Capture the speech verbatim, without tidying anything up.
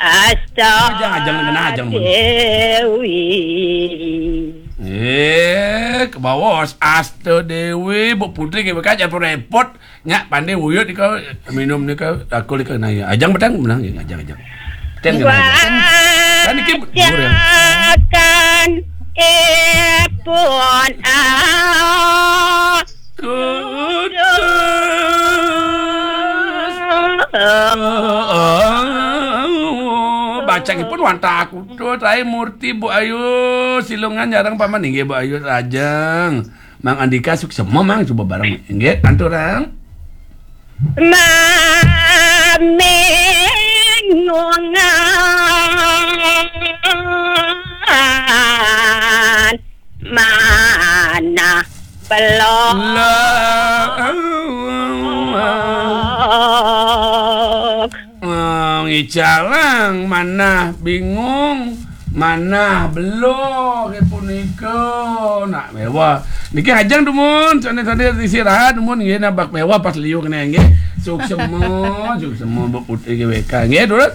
Asta Ajang, ajang, kena ajang, Bun. Dewi. Eh, ke bawah, Asta Dewi, Bu Putri, ke bekas, jangan repot. Nyak pandai wuyut ni kau, minum ni kau, aku ni kau nanya. Ajang petang, menang je, ajang, ajang. Ten kena ajang. Kan ni kim, murah. Bacakan ipun ah. Kudus. Baca ipun wanta aku tu, Trai Murti, Bu Ayu, Silungan, jarang paman, inggih, Bu Ayu, Rajang. Mang Andika, suksema, Mang, coba bareng. Inggih, antu orang. Mamingungan, manah belog. Lah. Oh, ngicalang, manah bingung, manah belog, ya punika. Nak mewah. Niki ajang dumun, sane-sane istirahat dumun, nggih, nabak mewah pas liu kene, nggih. Suksema, suksema, Bu Putri G W K, nggih, terus.